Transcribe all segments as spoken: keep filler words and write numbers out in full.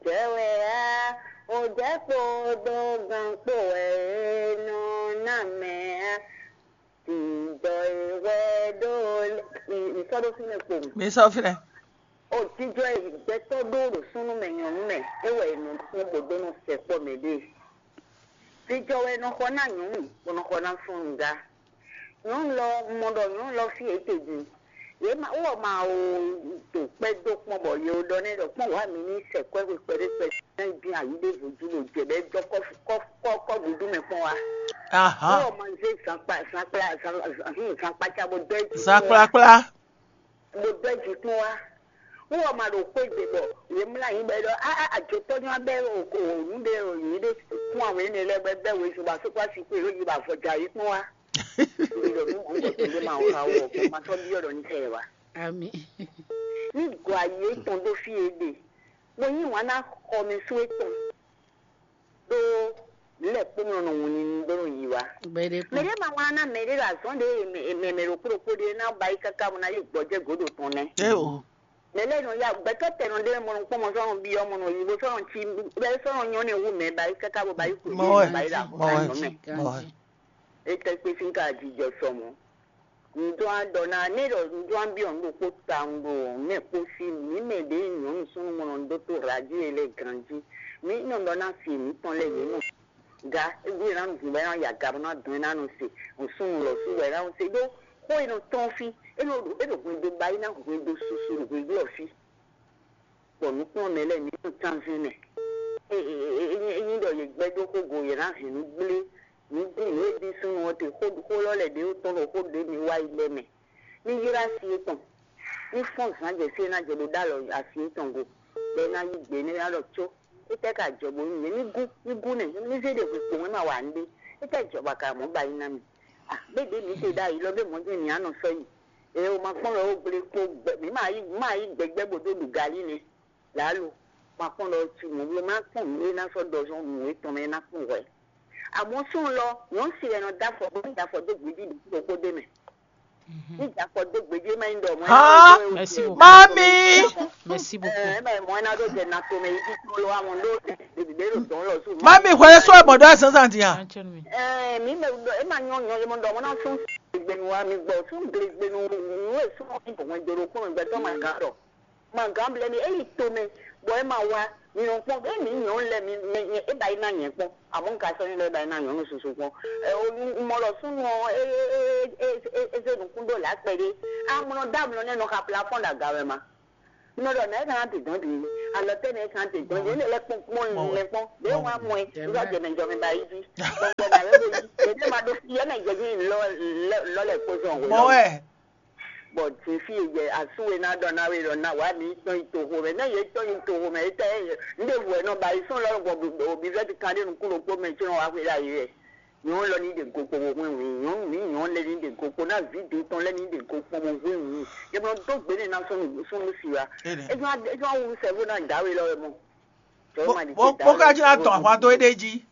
Jɛ wɛ á, o jɛ kpo ɖó gan kpo wɛ é nɔ ná mɛ á. Tindɔ e wɛ ɖó mi sɔ́ ɖó fínɛ́ kpo. Mi sɔ́ fínɛ́. O jijɔ e gbɛtɔ́ ɖó ɖo súnnu mɛ nyɔ̌nu mɛ, é wɛ è nɔ kpɔ́n bó ɖó nɔ sɛ kpɔ́ mɛ ɖe. Jijɔ wɛ è nɔ xɔ ná nyɔ̌nu, bó nɔ xɔ ná súnnu gá. Nyɔ̌nu lɔ, un mɔ ɖɔ nyɔ̌nu lɔ fí e é te din. Yě ma wɔ ma o ɖo kpɛ́ dó kpɔ́n bɔ yě ɖɔ nɛ́ ɖɔ kpɔ́n wǎ mi ní sɛ kwɛ́ xwe kpɛɖé kpɛɖé ná yi dín ayǐ ɖěvo jí ɖo jɛ bɛ́ dɔ́ kɔ́ kɔ́ kɔ́ kɔ́ gǔdú mɛ kpɔ́n wá. Wɔ ma zé zankpa zankpla zankpatsa bó dɔ́ jí kpɔ́n wá. Zankplakpla. Bó dɔ́ jí kpɔ́n wá. Wɔ ma ɖo xwé gbe bɔ yě mlá yín bɔ é ɖɔ á ajotɔ́ nyɔ́ bɛ́ nǔ ɖé yě ɖé kún awě énɛ́ lɛ́ɛ bɔ é bɛ́ wezun bɔ asúkú asi kú yě ɖo yi bɔ avɔ ja yě kpɔ́n wá. Ɖo nú mɔ̌ gbɔdɔ ɖé ma wá wɔ bɔ ma sɔ́ byɔ́ ɖɔ ní tɛ wá. Ami. Ní gɔ ayé tɔn ɖó fí e ɖe, bó yí wǎn ná xɔ mɛ sú étɔn ɖó lɛ kpó nɔ nɔ wun ni bó nɔ yi wá. Gbɛɖe kpɔn. Mɛɖé ma wá ná mɛɖé ɖo azɔn ɖé mɛ mɛ ɖokpó ɖokpó ɖé ná ba yi káká bó ná yi gbɔjɛ gǒdo tɔn nɛ́. Eo. Mɛ lɛ́ɛ nɔ ya gbɛtɔ́ tɛnɔ ɖé mɔ nɔ kpɔ́n mɔ sɔ́ nɔ byɔ́ mɔ nɔ yi bó sɔ́ nɔ cí bɛ́ sɔ́ nɔ nyɔ́ nɛ wú mɛ ba yi káká bó ba yi xwé Mɔwɛ. Ba yi ɖo Mɔwɛ. Azɔn mɛ. Ganji. Etɛ́ kpé sín ka jijɔ sɔ mɔ̌. Nǔdó aɖɔ ná né ɖɔ nǔdó abyɔ́ nǔ ɖokpó tawun ɖo mɛ kpó sí mǐ mɛ ɖě nyɔ̌nu súnnu mɔnɔ dó tó radio e lɛ́ ganjí. Mǐ nɔ ɖɔ ná fi mǐtɔn lɛ́ɛ yě nɔ ga égbé ná nu hǔn bɔ é ná ya ga bó ná dɔn é ná nɔ se. Súnnu lɔ sú bɔ é ná nɔ se ɖó xó e nɔ tɔ́n fí é nɔ ɖo é ɖo hwendo ba é ná hwendo susu ɖo hwendo ɔ fí. Bɔ nǔkplɔ́nmɛ lɛ́ɛ mǐ nɔ tánzɛn mɛ. Ényí ɖɔ yě gbɛ́ dó xógo yě ná hɛn nǔ gblé nǔ gblé nǔ e ɖi súnnu ɔ́ te xó xó lɔ lɛ́ɛ ɖě tɔn ɖo xó ɖě mi wá yi lɛ́ɛ mɛ. Ní ylɔ́ asi étɔn, ní fɔ́n zǎn jɛ fí e ná jɛ bó ɖó alɔ asi étɔn go, bɔ é ná yí gbe nɛ́ ná ɖɔ có, étɛ́ ka jɔ bónú nyɛ ní gú ní gú nɛ́ ní zé ɖe hwe kpowun é ma wa nǔɖé, étɛ́ jɔ bɔ a ka mɔ̌ ba yi ná mì? A bědě mǐ te ɖ'ayǐ lɔ bě mɔ̌ jɛ́n mǐ á nɔ sɔ́ yi. Eo ma kpɔ́n lɔ ó gblé kpó gbɛ mǐ ma yí ma yí gbɛgbɛ́ bó dó ɖu galí nɛ́. Lǎlo, ma kpɔ́n lɔ cí mɔ̌ bló má kpɔ́n nǔ e ná sɔ́ ɖɔ zɔn nǔ étɔn mɛ é ná kpɔ́n hwɛ̌. Amɔ̌ súnnu lɔ, nyɔ̌nu si wɛ nɔ dó afɔ bó nɔ dó afɔ dó gbějí ɖokpó ɖokpó ɖé mɛ. Ní dó afɔ dó gbějí é má nyí ɖɔ mɔ̌ é ná ɖó é wú. Mami. Merci beaucoup. Ɛ má mɔ̌ é ná ɖó jɛ na tomɛ yi títí ló amɔ ɖó ɖèbí ɖé ɖo dɔn lɔ sú. Mami hwɛ sɔ mɔ ɖɔ zan zan dia. Ɛ mí mɛ é má nyɔ nyɔ yɛ mɔ ɖɔ mɔ ná sún gbenu wa mi gbɔ sún gbenu nú e sún gbɔn joro kún gbɛtɔ ma gán ɖɔ. Ma gǎn blɛ́ mì, é yi tomɛ, bɔ é ma wá. Mi nɔ kpɔ́n, é mǐ nyɔ̌nu lɛ́ɛ mi mi mi é ba yi ná nyɛ kpɔ́n. Amɔ̌ un ka sɔ́ nyɔ́ lɛ́ɛ ba yi ná nyɔ̌nu susu kpɔ́n. Ɛ o un mɔ ɖɔ súnnu ɔ́ é é é é é é zé nǔkún ɖó lǎ kpɛɖé. Amlɔ dó amlɔ nɛ́ nɔ xa plafɔ́n ɖo aga wɛ ma. Un nɔ ɖɔ nɛ̌ é ka ná te dɔ̌n din? Alɔ tɛ́ nɛ́ é ka ná te dɔ̌n din? Énɛ́ lɛ́ kpɔ́n kpɔ́n lɛ́ kpɔ́n. Lě e wọ́n á mɔ ɛ, un sɔ́ jɛ mɛ jɔ mɛ ba yi jí. Gbɔngbɔn nǎ wé bo yí. Yě ɖé ma ɖó fí, yɛ mɛ jɛ jí lɔ́ lɔ́ lɛ́ kpó zɔn hwě lɔ. Bɔ din fí e yɛ asú e ná ɖɔ ná wé ɖɔ ná wǎ mi tɔn yi toxo mɛ, nɛ́ yě tɔn yi toxo mɛ, étɛ́ un ɖěvo wɛ nɔ ba yi sɔ́ lɔ́ gbɔ bivɛ́ti kan ɖé nukún ɖokpó mɛ có nɔ wá xwé ɖ'ayǐ wɛ. Nyɔ̌nu lɔ ní ɖe go kpo bó hwɛ́n wǐ, nyɔ̌nu mǐ nyɔ̌nu lɛ́ɛ ní ɖe go kpo ná vǐ do tɔn lɛ́ɛ ní ɖe go kpo bó hwɛ́n wǐ. É nɔ dó gbe nɛ́ ná sɔ́ nǔ sɔ́ nú si wá. É nɔ é nɔ wú sɛ́ bó ná dǎwe lɔ wɛ mɔ. Bó ka jí ná tɔn ahwan dó éɖée jí.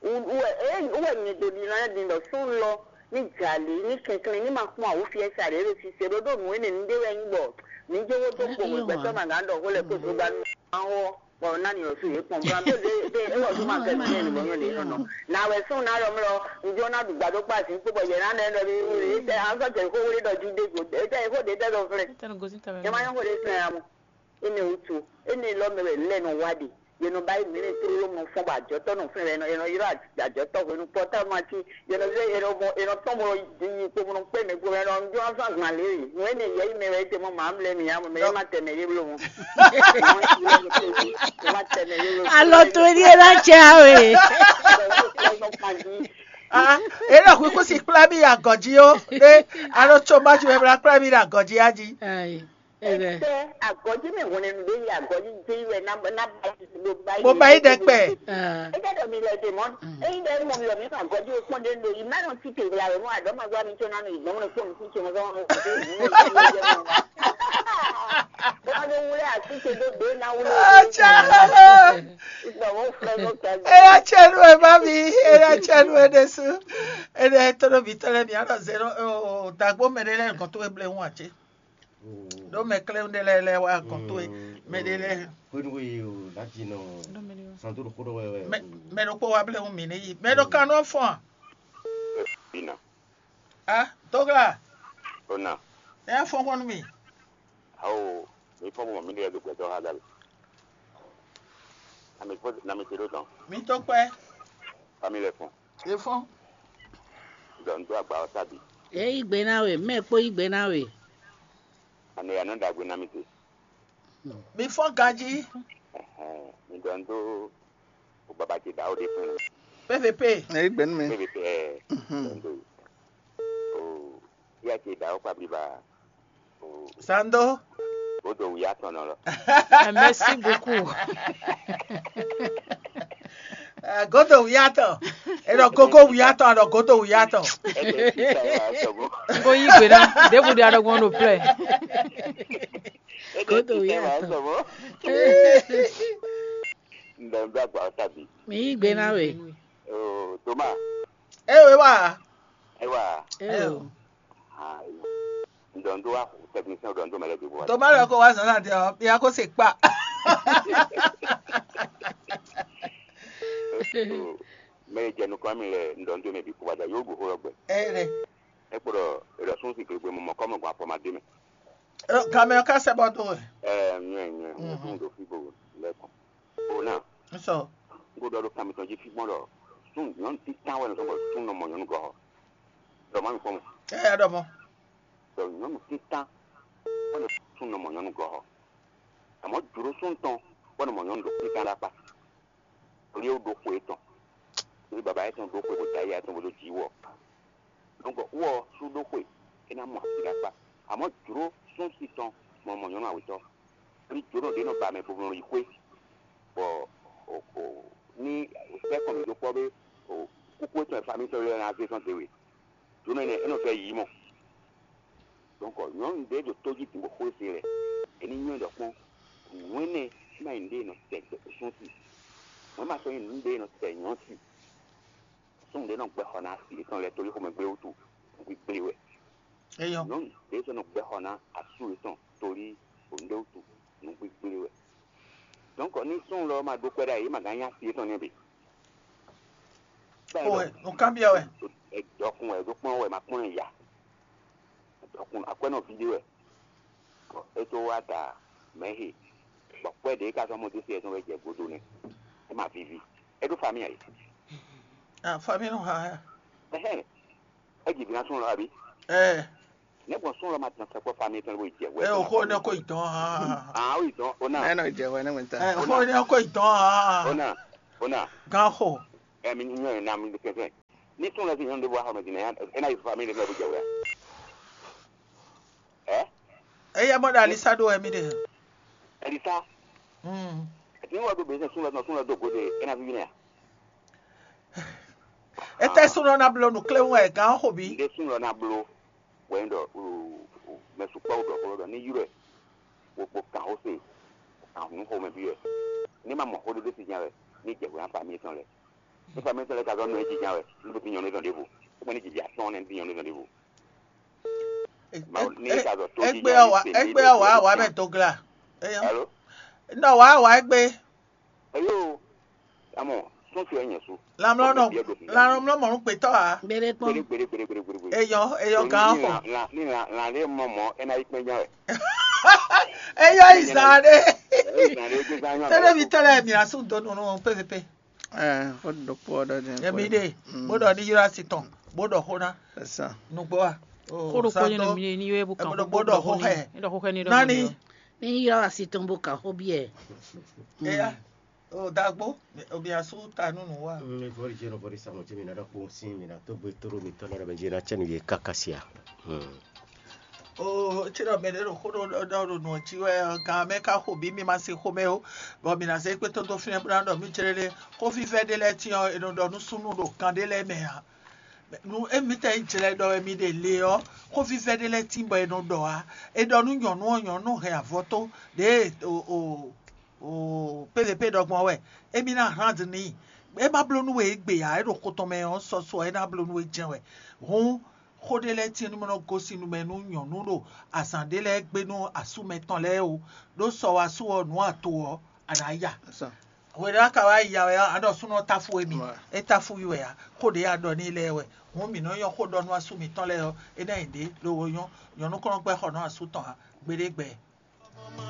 Wɛ nyɛ do ɖi lɔ din ɖɔ sún lɔ ní jalè ní kɛnklɛn ní ma kpɔ́n awǔ fiɛ sa ɖě ɖo sise ɖó ɖo nǔ énɛ́ ní ɖé wɛ nyí bɔ ní jówó dó kpo wɛ gbɛtɔ́ ma gǎn ɖɔ xó lɛ kó zogba nú ma wɔ bɔ ná ní ɔsú yě kpɔn bó ná bó dé dé é wɔ zó ma kɛ nǔ énɛ́ bɔ nyɔ lě nɔ nɔ. Nǎ wɛ sún ná ɖɔ mlɔ ŋjó ná ɖu gbadó kpá zǐn kpó bɔ yɛ ná nɛ ɖɔ bí wúri é tɛ azɔ jɛ xó wúri ɖɔ jí dé go é tɛ xó ɖě tɛ ɖɔ flɛ. Nya ma nyɔ xó ɖě flɛ amɔ. Énɛ́ wútu, énɛ́ lɔ mɛ wɛ lɛ́ nɔ wá ɖe. Yě nɔ ba yi mǐ lɛ́ɛ tlóló mɔ fɔ́n bɔ ajɔ̌tɔ́ nɔ fɛ́n wɛ, è nɔ ylɔ́ ajɔ̌tɔ́ hwenu pɔ́támati, yě nɔ zé è nɔ mɔ è nɔ tɔ́n mɔ yi kpo mɔ nɔ kpé mɛ gbo mɛ nɔ jó azán gbǎn lě e. Nǔ énɛ́ yɛ yi mɛ wɛ é te mɔ mǎ mlɛ́ mǐ ǎ mɛ é má tɛ mɛ yé bló mɔ. Alɔ to ní é ná tsɛ we. Ah, ele xwixwisi kpla mi yi agɔji o. Ne alo tso ma ju ebla kpla mi yi agɔji aji. Ete agɔji mɛ hɔn ne ɖe yi agɔji dzi wɛ na na ba yi do ba yi. Mo ba yi dɛkpɛ. Ete dɔ mi lɛ de mɔ. Eyi dɛ mɔ mi lɔ mi ka agɔji o kpɔn de do yi ma nɔ ti te la wɛ mo adɔ ma gba mi tso na mi gbɔn mo kpɔn mi tso mo sɔ mo ko te mi mo ti mo jɛ mo. Wa do wule ati te do do na wule. Acha. Ìgbà wo fẹ́ ló kẹ́. Eya tsɛ nu ɛ ma mi, eya tsɛ nu ɛ ɖesu. Ene tɔnɔ bi tɔnɔ mi anɔ zero o dagbo mɛ ɖe lɛ nǹkan tó eble ŋu àtsɛ. Ɖó mɛ klɛ́ ɖé lɛ́ɛ lɛ́ɛ wá gɔn towe, mɛ ɖé lɛ́ɛ. Hwenu e o ná ji nɔ santo ɖo xó ɖɔ wɛ wɛ. Mɛ ɖokpó wá blɛ́ hú mǐ ní yi. Mɛ ɖo kan nɔ fɔ́n a? Bina. A, Dogla, Ona. Nya fɔ́n hwɔ́n nú mì. Awo, mi fɔ́n mɔ mi ɖe do gbɛtɔ́ ha dali. Ami fɔ na mi te ɖo tɔn. Mi tó kpɛ́. Fami lɛ fɔn. E fɔ́n. Dɔn do agba ɔ tabi. E yí gbe ná we, mɛ kpó yí gbe ná we. Ane ya nɔ ɖagbe na mi te. Mi fɔ́n ganjí. Ɛhɛn, mi dɔn do o baba ce ɖawo ɖe fún. P V P. Ɛ yí gbe nú mi. P V P ɛ. Mhm. Dɔn do. O ya ce ɖawo kpa bliba. Sando. Godo wǔyá tɔn nɔ lɔ. Ah, merci beaucoup. Ah, godo wǔyá tɔn. E ɖɔ gogo wǔyá tɔn, a ɖɔ godo wǔyá tɔn. Ɛsɛ sisa yɛ wá sɔgbɔn. N ko yí gbe ná, ɖěbǔ ɖe aɖɔgbɔn ɖo plɛ. Godo wǔyá tɔn. Sɔgbɔn. Ndɔ n bɛ agba ɔta bi. Mi yí gbe ná we. Oo, Toma. E wɛ wá. E wá. E o. Ah, ndɔ n do wá technicien, ndɔ n do mɛ lɛ do wá. Toma lɛ ko wá zan na de ɔ, ya ko se kpa. Mɛ e jɛ nukɔn mi lɛ, ndɔ n do mɛ bi kó wá da yóò gbó xó lɔ gbɛ. E ɖe. E kpo ɖɔ e ɖɔ sún si gbegbe mɔ mɔ kɔmɔ gbɔn afɔ ma dé mɛ. Gamɛ ɔ ka sɛ bɔ do. Ɛ nyɛ nyɛ mo tún do fi bo lɛ kɔn. O na. Sɔ. N ko ɖɔ ɖo kan mitɔn jí fi gbɔn ɖɔ sún nyɔnu títán wɛ nɔ sɔn bɔ sún nɔ mɔ nyɔnu gɔhɔ. Ɖɔ ma mi fɔ mɔ. Ɛ ya ɖɔ mɔ. Ɖɔ nyɔnu títán wɛ nɔ sún nɔ mɔ nyɔnu gɔhɔ. Àmọ́ jǒɖó sún tɔn wɛ nɔ mɔ nyɔnu ɖo títán ɖo akpá. Torí ó ɖó xwe étɔn. Torí baba étɔn ɖó xwe bó dó ayé étɔn bó dó jǐ wɔ. Donc wɔ sú ɖó xwe, é ná mɔ asi ɖo akpá. Àmọ́ jló sún si tɔn mɔ mɔ nyɔ̌nu awětɔn. Torí jǒnɔ ɖě nɔ ba mɛ bo nɔ yi xwé, bɔ ní sɛ́ kɔn mǐ dó kpɔ́ bé kúkú étɔn e famí tɔn lɛ́ɛ ná zé zɔn dě we. Jǒnɔ énɛ́ é nɔ vɛ́ yǐ mɔ. Donc nyɔ̌nu ɖě ɖo tó jí din bó xwé se lɛ, é ní nywɛ́ ɖɔ kpɔ́n, nǔ énɛ́ é ná nyí nǔɖé e nɔ tɛ sún si. Mɔ̌ ma sɔ́ nyí nǔɖé e nɔ tɛ nyɔ̌nu si. Súnnu ɖé nɔ gbɛ́ xɔ ná asi yětɔn lɛ́ɛ tóli xomɛgbé wútu nǔgbígblé wɛ. Nyɔ̌nu ɖě sɔ́ nɔ gbɛ́ xɔ ná asú yětɔn tóli nǔɖé wútu nǔgbígblé wɛ. Donc ní súnnu lɔ ma ɖó kpɛ́ ɖ'ayǐ, é ma gán nyí asi yětɔn nɛ́ bǐ. Xo wɛ, nǔkanbyɔ́ wɛ. Dɔkun wɛ, ɖó kpɔ́n wɛ, ma kpɔ́n ɛ ya. Dɔkun akwɛ́nɔví ɖé wɛ. Bɔ é tó wá da mɛ̌ he, bɔ kpɛ́ ɖě ka zɔ́n mɔ dó sí ɛzɔ́n wɛ jɛ godo nɛ́. É ma víví. É ɖó famille a yě. Ah, famille nɔ ha ya. Ɛhɛn. É ji vǐ ná súnnu lɔ abí? Ɛ. Nɛ̌ gbɔn súnnu lɔ ma tɔn sɛkpɔ́ famille tɔn bó yi jɛ wɛ? Ɛ o xó ne ko yi dɔn ha. Ah, ó yi dɔn, ó ná. Ɛ nɔ jɛ wɛ ne wɛn ta. Ɛ o xó ne ko yi dɔn ha. Ó ná, ó ná. Gán xo. Ɛ mi nyɔ ɛ ná mi kɛfɛ. Ní súnnu lɔ sí nyɔnu ɖé bó wá xɔ mɛ din ɛ ná yi famille ɖé bó jɛ wɛ. Ɛ? Eya mɔ ɖo alisa ɖo wɛ mi ɖe. Alisa. Mm. Ati wɔ do bɛsɛ sun lɔ sun lɔ do gode ena vivi nɛ. Ete sun lɔ na blo nu kle wɛ gan xo bi. Nde sun lɔ na blo. Wɛ n dɔ mɛ sukpɔ dɔ kolo dɔ ni yurɛ. Wo kpo kan xo se. Kan hun xo mɛ bi wɛ. Ni ma mɔ xo do de si nya wɛ. Ni jɛ wɛ an fa mi tɔn lɛ. Ni fa mi tɔn lɛ ka zɔ nɔ e ji nya wɛ. Ni bi nyɔ ne dɔn devo. Ko ni ji ja tɔn ne bi nyɔ ne dɔn devo. Egbe awa egbe awa awa mɛ dogla. Eyo. Alo? Nɔ wa awa egbe. Eyo. Amɔ, sɔn fi ɛnyɛ su. Lamlɔ nɔ lamlɔ mɔnu kpetɔ a. Gbede kpɔn. Gbede gbede gbede gbede gbede. Eyɔ eyɔ gan xɔ. Ni lan lan lan le mɔ mɔ ena yi kpɛn jan wɛ. Eyɔ izan de. Tɛlɛ mi tɛlɛ mi asu donu nu pɛpɛpɛ. Ɛ xó ɖokpó ɔ́ ɖɔ din. Emi ɖe bó ɖɔ ní ylɔ́ asi tɔn bó ɖɔ xó ná. Ɛsán. Nugbo a. Xó ɖokpó nyí nɔ mi ní yɔ́ bó kan xó bó ɖɔ xó xɛ. Ní ɖɔ xó xɛ ní ɖɔ nani. Ní ylɔ́ asi tɔn bó kan xó biɛ. Eya o dagbo omi asu ta nunu wa. Mi vɔri jɛ nɔ vɔri samɔ tí mi na ɖɔ kpó sí mi na tó gbé tóró mi tɔn na ɖɔ bɛ jɛ na cɛ nu yɛ kaka sia. Oo, tsi ɖɔ mɛ ɖé ɖo xó ɖɔ ɖɔ ɖo nǔ ɔ́ jí wɛ ɔ́, gan mɛ ka xo bǐ mi ma se xomɛ ó, bɔ mi ná zé kpé tódó fínɛ́ bó ná ɖɔ mí jlé lé. Xófífɛ́ ɖé lɛ́ɛ tín ɔ́, è nɔ ɖɔ nú súnnu ɖo kan ɖé lɛ́ɛ mɛ ǎ. Nú émítɔn nyí jlɛ ɖɔ wɛ mi ɖe le ɔ́, xófífɛ́ ɖé lɛ́ɛ tín bɔ è nɔ ɖɔ ǎ. È ɖɔ nú nyɔ̌nu ɔ́, nyɔ̌nu hɛn avɔ tó ɖěe o o o P V P ɖɔ gbɔn wɛ, émí ná hlán dǐn n'i. É má bló nú we égbé ǎ, é ɖo xo tɔn mɛ ɔ́, sɔsɔ é ná bló nú we jɛ́n wɛ. Hǔn Xó ɖé lɛ́ɛ tíin nú mɔ nɔ gosín nu mɛ nú nyɔ̌nu ɖo azǎn ɖé lɛ́ɛ gbe nú asú mɛtɔn lɛ́ɛ o. Ɖó sɔ wá sú ɔ́ nǔ ato ɔ́, a nǎ ya. Hwenu a ka wá ya wɛ ɔ́, a ɖɔ súnɔ táfú émí. É táfú yi wɛ ǎ. Xó ɖě a ɖɔ n'i lɛ́ɛ wɛ. Hǔn mǐ nɔ nyɔ́ xó ɖɔ nú asú mǐtɔn lɛ́ɛ ɔ́, é ná nyi ɖě lobo nyɔ́. Nyɔ̌nu kɔn nɔ gbɛ́ xɔ nú asú tɔn ǎ. Gbeɖé gbɛ.